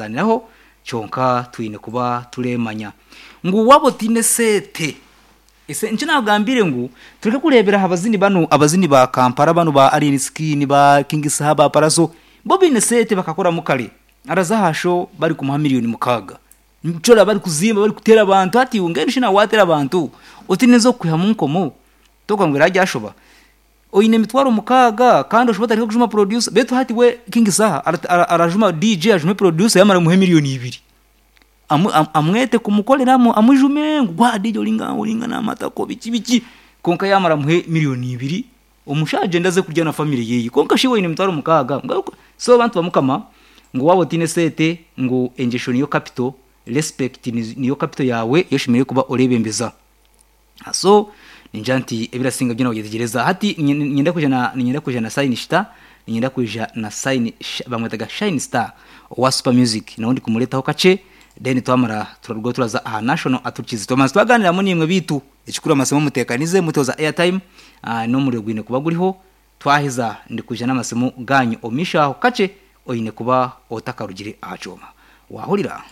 Zaniraho kyonka twine kuba turemanya ngu waaba otaine sente ese nikyo naagambire ngu tureke kureebera aha bazini banu abazini ba Kampala banu ba Alien Skin ba King Saha ba Pallaso bo baine sente bakakoramu kare araza aha show barikumuha miriyoni mukaaga nikyo oraba barikuzimba barikuteera abantu hati iwe mbwenu shi naawe waateera abantu otaine ez'okukwihamu nkomo tokugira ngu eragyashoba Oine emitwaro mukaaga kandi oshuba otandike kujuma producer beitu hati we King Saha arajuma DJ ajume producer yamara amuhe miriyoni ibiri amwete kumukorera amujume ngu gwa DJ oringa namatako biki biki kwonka yamara amuhe miriyoni ibiri omushaija agyende aze kurya na family yeye kwonka shi iwe oine emitwaro mukaaga so bantu bamukama ngu waaba otaine sente ngu engyesho niyo capital respect niyo capital yaawe ei oshemereire kuba orebembeza. So ningira nti ebirasinga byona wabyetegyereza. Hati niinyenda kwija na niinyenda kwija na Sign Star, niinyenda kwija na Sign bamwetaga Shine Star owa Super Music nawe ndikumuretaho kakye then twamara turarugaho turaza aha National Aturikize. Twabanza twaganiramu naimwe beitu ekikuru amasimu muteekanize mutoza airtime n'omuriro gwine kuba guriho. Twaheza ndikwija n'amasimu gaanyu omu maisho aho kakye oine kuba otakarugire aha kyoma. Waahurira?